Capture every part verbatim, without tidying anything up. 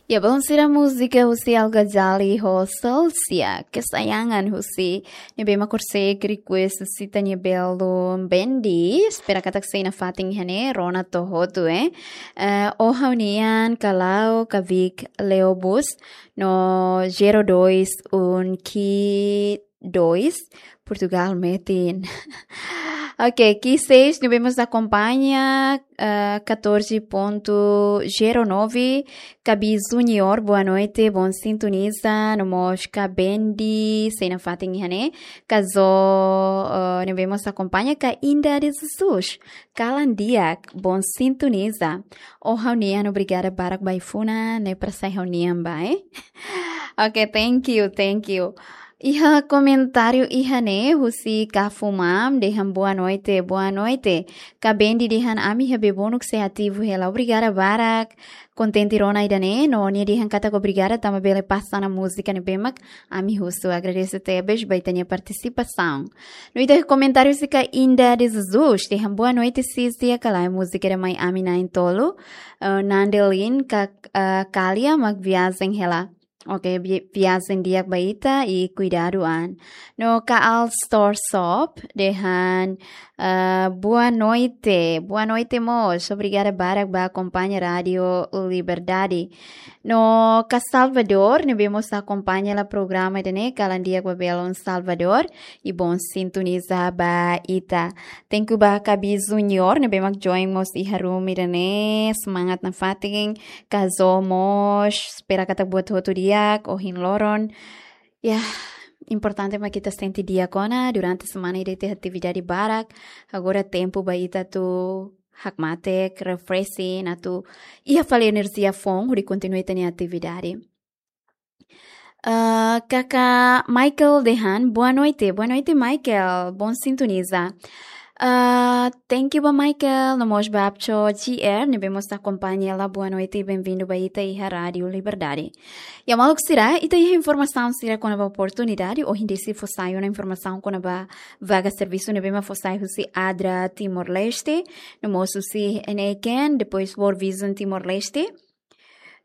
Ya, belun sira, múzika husi Al Ghazali ho Celsia, Kesayangan husi ne'ebé mak horiseik request husi ita-nia belun Bendi. Espera katak sei nafatin iha ne'e, rona to'o hotu, eh. Eh, Ó Ha'u-Nian, Kalau, Kavik, Leobus, no zero dois um que dois, Portugal metin. Ok, Ki Seis, ne'ebé mós akompaña, eh, catorze ponto zero nove, Kabi Junior, boa noite, bom sintoniza, no mós Ka Bendi, sei nafatin iha ne'e, Ka Zo, eh, ne'ebé mós akompaña, Ka Inda de Jesus, kalan di'ak, bom sintoniza. Ó Ha'u-Nian, obrigada barak ba ai-funan ne'e, para sai ha'u-nian ba, eh? Ok, thank you, thank you. Iha komentáriu iha ne'e husi Ka Fumam, dehan boa noite, boa noite. Ka Bendi dehan ami iha Bebonuk sei ativu hela. Obrigada barak. Kontente rona ida-ne'e, no nia dehan katak obrigada tanba bele pasa ona múzika ne'ebé mak ami husu. Agradese tebes ba ita-nia partisipasaun. No ita komentáriu husi Ka Inda de Jesus, dehan boa noite sis, di'ak ka lae, múzika ida mai ami na'in-tolu, eh, Nandelin ka, eh, Kalia mak viajen hela. Ok, vi-, viajen di'ak ba ita i kuidadu an. No Ka Al Store Shop, dehan, eh, boa noite, boa noite mós, obrigada barak ba akompaña Rádio Liberdade. No Ka Salvador, ne'ebé mós akompaña hela programa ida-ne'e, kalan di'ak ba belun Salvador, i bom sintoniza ba ita. Thank you ba Kabi Junior, ne'ebé mak join mós iha room ida-ne'e, semangat nafatin, Ka Zo mós, espera katak buat hotu di'ak, ohin loron. Ya, importante mak ita sente di'ak ona, durante semana ida iha atividade barak, agora tempu ba ita atu hakmatek, refreshing, atu iha fali enerjia foun hodi kontinua ita-nia atividade. Ah, Kaka Michael dehan, boa noite. Boa noite, Michael. Bom sintoniza. Ah, thank you ba Michael, no mós ba Apcho G R, ne'ebé mós akompaña hela, boa noite i benvindu ba ita iha Rádio Liberdade. Ya, maluk sira, ita iha informasaun sira kona-ba oportunidade, ohin desi fó sai ona informasaun kona-ba vaga servisu ne'ebé mak fó sai husi ADRA Timor-Leste, no mós husi N A K N, depois World Vision Timor-Leste.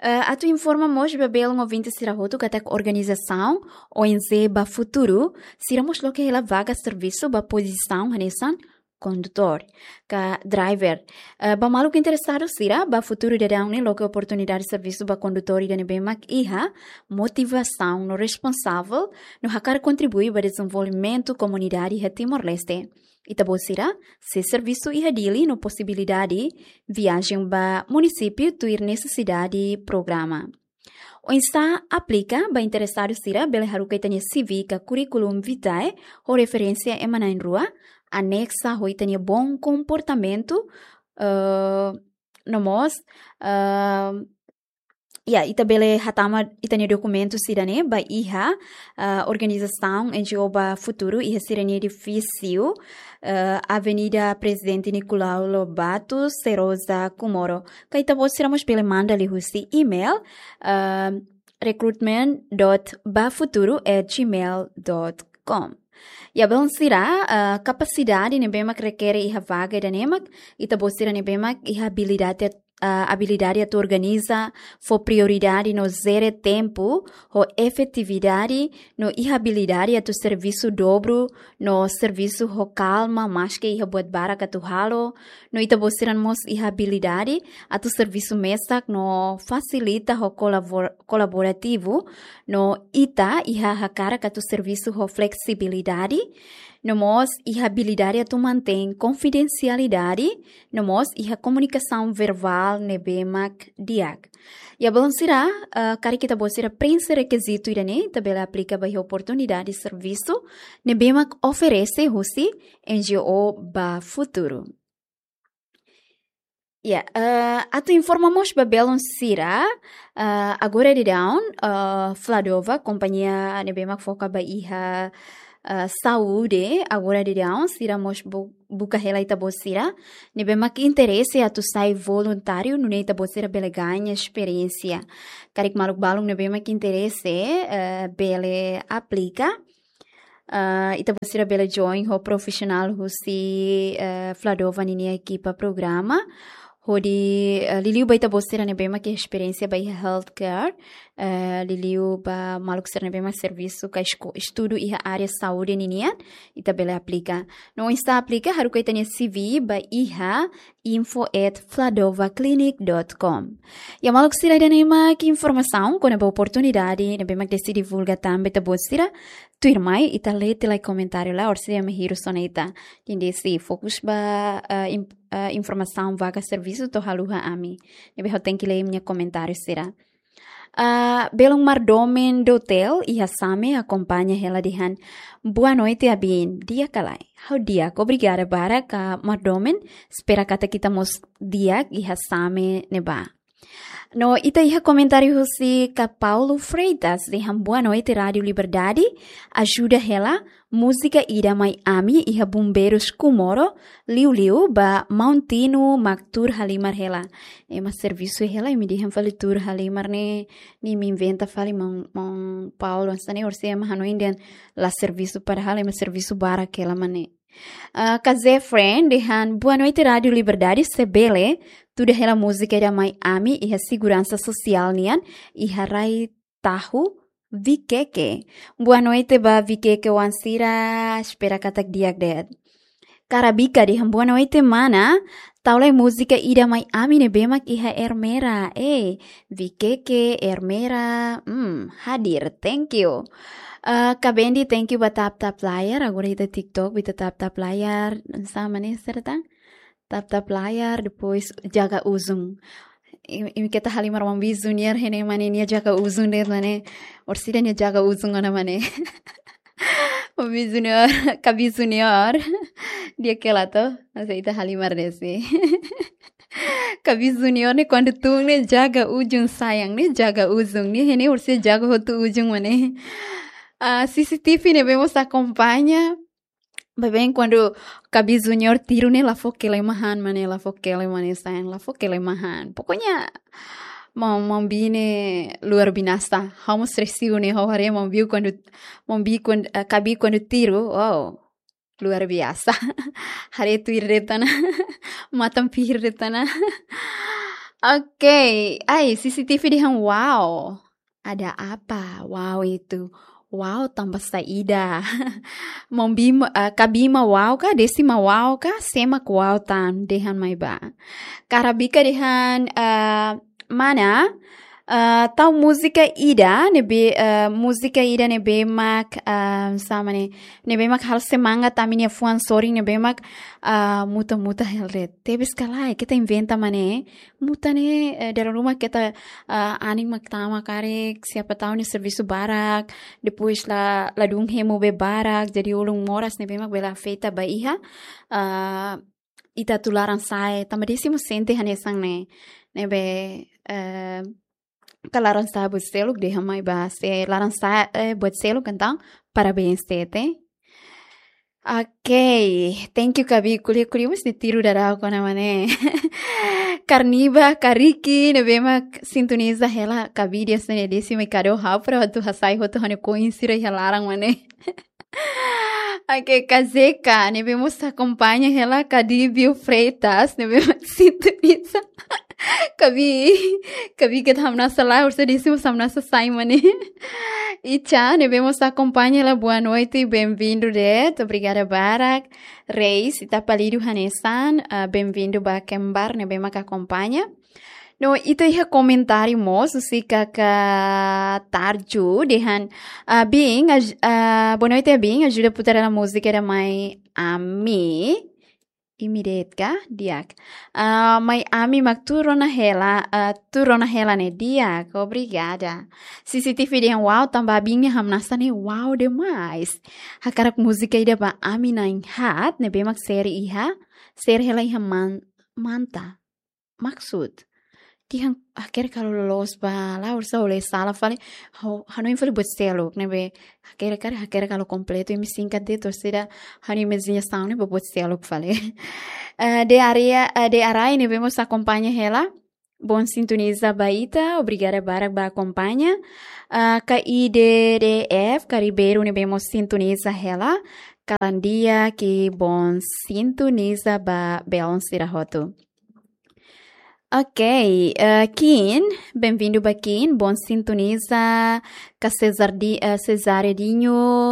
Eh, atu informa mós ba belun ouvinte sira hotu katak organizasaun O N G Ba Futuru, sira mós loke hela vaga servisu ba pozisaun hanesan kondutór ka driver. Eh, ba maluk interesadu sira, Ba Futuru daudaun ne'e loke oportunidade servisu ba kondutór ida ne'ebé mak iha motivasaun no responsavel, no hakarak kontribui ba dezenvolvimentu komunidade iha Timor-Leste. Ita-boot sira sei servisu iha Dili no posibilidade viajen ba munisípiu tuir nesesidade programa. Oinsá aplika? Ba interesadu sira bele haruka ita-nia C V ka curriculum vitae ho referénsia ema na'in-rua, anexa ho ita-nia bom komportamentu, eh, no mós, eh, ya, ita bele hatama ita-nia dokumentu sira-ne'e ba iha, ah, organizasaun N G O Ba Futuru iha sira-nia edifísiu, eh, Avenida Presidente Nicolau Lobato, Serosa, Comoro. Ka ita-boot sira mós bele manda liuhusi email, ah, recruitment dot bafuturu at gmail dot com. Ya, belun sira, ah, kapasidade ne'ebé mak rekere iha vaga ida-ne'e mak, ita-boot sira ne'ebé mak iha abilidade, ah, abilidade atu organiza, fó prioridade no jere tempu ho efetividade, no iha abilidade atu servisu dobru, no servisu ho kalma, maske iha buat barak atu halo, no ita-boot sira mós iha abilidade atu servisu mesak no fasilita ho kolabor-, kolaborativu, no ita iha hakarak atu servisu ho fleksibilidade, no mós iha abilidade atu mantein konfidensialidade, no mós iha komunikasaun verbál ne'ebé mak di'ak. Ya, belun sira, eh, karik ita-boot sira prenxe rekizitu ida-ne'e, ita bele aplika ba iha oportunidade servisu ne'ebé mak oferese husi N G O Ba Futuru. Ya, eh, atu informa mós ba belun sira, eh, agora daudaun, eh, Fladova, kompañia ne'ebé mak foka ba iha, eh, saúde, agora daudaun, sira mós bu-, buka hela ita-boot sira ne'ebé mak interese atu sai voluntáriu, nune'e ita-boot sira bele gaña esperiénsia. Karik maluk balun ne'ebé mak interese, eh, bele aplika. Ah, ita-boot sira bele join ho profisionál husi, eh, Fladova ninia ekipa programa. hodi, eh, liuliu ba ita-boot sira ne'ebé mak iha esperiénsia ba iha healthcare, eh, liuliu ba maluk sira ne'ebé mak servisu ka esko-, estudu iha área saúde ninian, ita bele aplika. No oinsá aplika, haruka ita-nia C V ba iha info at fladovaclinic dot com. Ya maluk sira, ida-ne'e mak informasaun kona-ba oportunidade ne'ebé mak Desi divulga tan ba ita-boot sira. Tuirmai, ita lee tiha lai komentáriu lai, orsida ema hirus ona ita. Entaun Desi fokus ba, eh, im-, eh, informasaun vaga servisu to'o haluha ami. Ne'ebé ha'u tenke lee imi-nia komentáriu sira. Ah, belun Mardomen Dotel iha Same akompaña hela dehan: "Boa noite, Abin. Di'ak ka lae?" Ha'u di'ak, obrigada barak, Mardomen. Espera katak ita mós di'ak iha Same ne'ebá. No ita iha komentáriu husi Ka Paulo Freitas dehan: "Boa noite, Rádio Liberdade. Ajuda hela múzika ida Mai Ami iha Bombeiros Comoro, liuliu ba maun Tino mak tuur halimar hela." Ema servisu hela, imi dehan fali tuur halimar ne'e, ne'e imi inventa fali, maun, maun Paulo, hanesan ne'e orsida ema hanoin dehan la servisu, padahal ema servisu barak hela mak ne'e. Ah, Ka Zé Friend dehan: "Boa noite, Rádio Liberdade. Se bele tuda hela múzika ida Mai Ami iha seguransa sosiál nian, iha rai Tahu, Vikeke." Boa noite ba Vikeke oan sira, espera katak di'ak de'it. Karabika dehan: "Boa noite, mana. Tau lai múzika ida Mai Ami ne'ebé mak iha Ermera." Eh, Vikeke, Ermera, hmm, hadir. Thank you. Ah, Ka Bendi, thank you ba tap tap layar. Agora ita TikTok, ita tap tap layar. Hanesan ne'e, serta tap tap layar, depois jaga ujung. Imi, imi keta halimar maun Bi Junior, hanesan ne'e mak ne'e, nia jaga ujung de'it mak ne'e. Orsida nia jaga ujung ona mak ne'e. Maun Bi Junior, Ka Bi Junior. Di'ak ka lae to? Masa ita halimar Desi. Ka Bi Junior ne'e kuandu tun ne'e jaga ujung, sayang, ne'e jaga ujung. Ne'e hanesan ne'e orsida jaga hotu ujung mak ne'e. Ah, C C T V ne'ebé mós akompaña. Baibain kuandu Ka Bi Junior tiru ne'e, la fó kelemahan mak ne'e, la fó kelemahan, sayang, la fó kelemahan. Pokoknya maun, maun Bi ne'e luar binasa. Ha'u mós resiu ne'e, ha'u haree maun Bi kuandu, maun Bi kuan-, eh, Ka Bi kuandu tiru, wow, luar biasa. Haree tuir de'it ona, matan pihir de'it ona. Oke, ai, C C T V dehan wow. Ada apa? Wow itu. Wow tanba saida? Maun Bi ma, eh, Ka Bi mak wow ka, Desi mak wow ka, sé mak wow tan, dehan mai bá. Karabika dehan, eh, mana, eh, tau múzika ida ne'ebé, eh, múzika ida ne'ebé mak, eh, hanesan ne'e, ne'ebé mak halo semangat ami-nia fuan sorin ne'ebé mak, eh, muta-muta hela de'it. Tebes ka lae, keta inventa mak ne'e. Muta ne'e, eh, dala ruma keta, eh, anin mak tama karik, siapa tahu nia servisu barak, depois la, ladún hemu be barak, jadi ulun moras ne'ebé mak bele afeta ba iha, eh, ita atu laran-sa'e, tanba Desi mós sente hanesan ne'e, ne'ebé, eh, ka laran-sa'e buat seluk, dehan mai bá, se laran-sa'e, eh, buat seluk, entaun parabéns de'it. Oke, thank you Ka Bi, ko'alia-ko'alia mós ne'e tiru daudaun ona mak ne'e. Karniba, Kariki, ne'ebé mak sintoniza hela, Ka Bi dehan hanesan ne'e, Desi mai kado ha'u para atu hasai hotu ha'u-nia koin sira iha laran mak ne'e. Oke, Ka Zeka, ne'ebé mós akompaña hela, Ka Dibio Freitas, ne'ebé mós sintoniza. Ka Bi, Ka Bi keta hamnasa lae, orsida Desi mós hamnasa sai mak ne'e. Icha, ne'ebé mós akompaña hela, boa noite, bem-vindo de'it, obrigada barak. Reis, ita palidu hanesan, ah, bem-vindo ba kembar, ne'ebé mak akompaña. No, ita iha komentáriu mós, husi Kaka Tarju, dehan, ah, Bin, aj-, ah, boa noite, Bin, ajuda putar hela múzika ida Mai Ami. Imi de'it ka? Di'ak. Ah, Mai Ami mak tuur ona hela, ah, tuur ona hela ne'e, di'ak, obrigada. C C T V dehan wow, tanba Bin nia hamnasa ne'e wow demais. Hakarak múzika ida ba ami na'in-haat, ne'ebé mak seri iha, seri hela iha Man-, Manta. Maksud. Dehan hakerek halo loloos ba, la orsida ha'u lee sala fali, ha'u, ha'u hanoin fali buat seluk, ne'ebé hakerek karik, hakerek halo kompletu, imi singkat de'it, orsida ha'u-nia imajinasaun ne'e ba buat seluk fali. Eh, de área, eh, de Arai ne'ebé mós akompaña hela, bom sintoniza ba ita, obrigada barak ba akompaña. Eh, K I D D F, Karibeiru ne'ebé mós sintoniza hela, kalan di'ak, bom sintoniza ba belun sira hotu. Ok, eh, Kim, bem-vindo ba Kim, bom sintoniza, ka Cesar di, eh, Cesária Dinho,